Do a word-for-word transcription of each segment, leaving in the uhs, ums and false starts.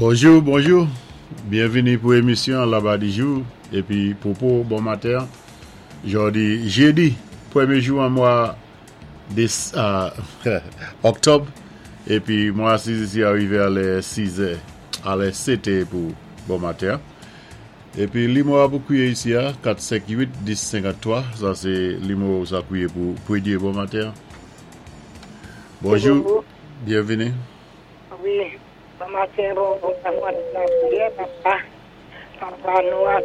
Bonjou, bonjou. Byenvini pou émisyon Laba di jou épi pwopo bon maten. Jòdi jédi, pwémyé jou an mwa dé òktòb épi mwen asiz isi arivé a lè sis è, a lè sèt è pou bon maten. Épi nimewo a pou kwiyé isi a kat senk uit dis senkanntwa, sa sé nimewo sa kwiyé pou pwémyé bon maten. Bonjou, byenvini. Wi, bon maten, bon bon lapriyè, papa. Papa nou a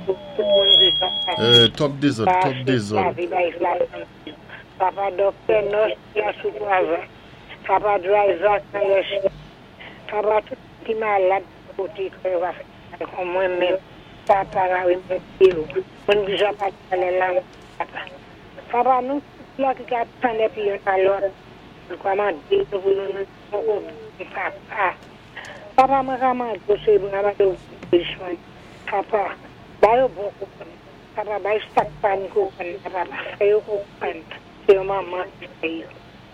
tout moun di sa. Euh, twòp dézòd, twòp dézòd. Papa doktè, nurse ki sou travay. Papa driver kan lè Papa tout ki malad koté ke va fè kon mwen menm. Papa la remèsyé ou. Mwen déja pa palé la papa. Papa nou tout la ki ka tann épi youn a lòt. Nou ka mandé nou pou nou nou papa. Papa mwen ka mandé sé mwen ka mandé ou Papa, ba yo bon konprann. Papa, bay sak pa ni konprann. Papa, fè yo konprann. Sé yon manman ki fè yo.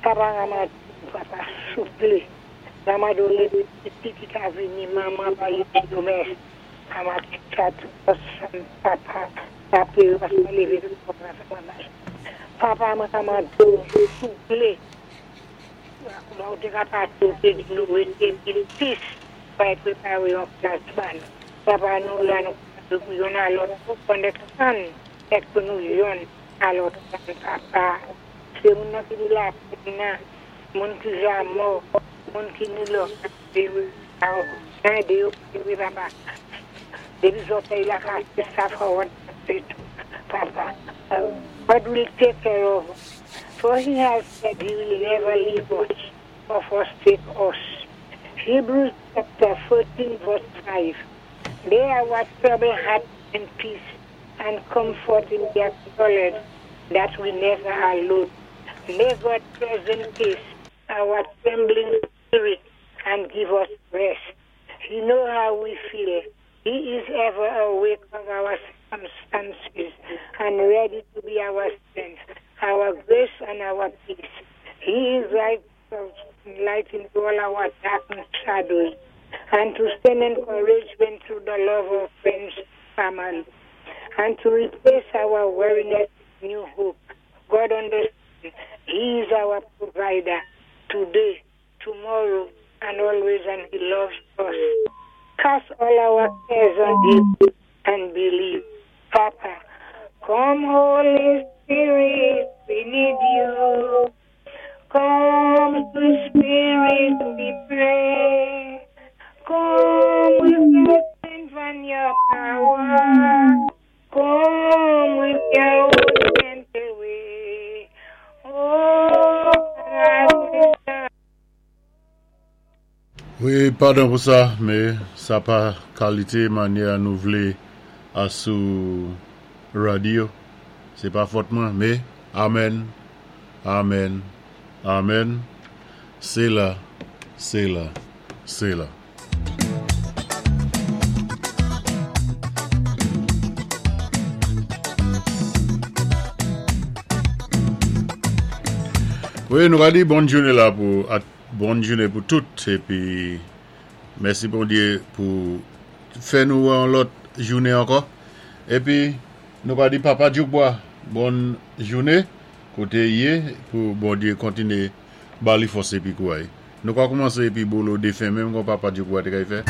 Papa, mwen mandé papa, souplé. Mwen mandé lé pitit ki ka vini, manman ba yo yo mèsi. Papa, sa tout ansanm, papa, lapriyè yo lévé Papa, mwen ka mandé souplé. Kouman ou té ka pati ou té di nou rété in peace pa préparé yon plas ba nou. Papa nou la nou pou youn a lòt pou understand èk pou nou youn a lòt papa. Sé moun nan ki ni lapenn nan, moun ki ja mò, moun ki ni lò, édé yo wi papa. Dépi zòtèy la kasé sa forward sé tou, papa. God will take care of us. For he has said he will never leave us or forsake us. Hebrews chapter fourteen verse five. May our troubled heart in peace and comfort in their knowledge that we never are alone. May God present peace our trembling spirit and give us rest. He knows how we feel. He is ever aware of our circumstances and ready to be our strength, our grace, and our peace. He is right of light into all our dark shadows and to send encouragement through the love of friends, family, and to replace our weariness with new hope. God understands. He is our provider today, tomorrow, and always, and He loves us. Cast all our cares on Him and believe. Papa, come, Holy Spirit, we need you. Come, sweet Spirit, we pray. Come with your strength and your power. Come with your gentle way. Oh, come Wi, padon pou sa, mé sa pa kalité mannyè nou vlé a sou radyo. Sé pa fòt mwen, mé amèn, amèn, amèn. Sé la, sé la, sé la. Wi, nou va di bòn jounen la pou bòn jounen pou tout épi mèsi Bondyé pou fè nou wè yon lòt jounen ankò. Épi nou va di papa Djoukbois bòn jounen koté i yé pou Bondyé kontiné ba li fòs épi kouray. Nou ka koumansé épi bolo défen menm kon papa Djoukbois té kay fè.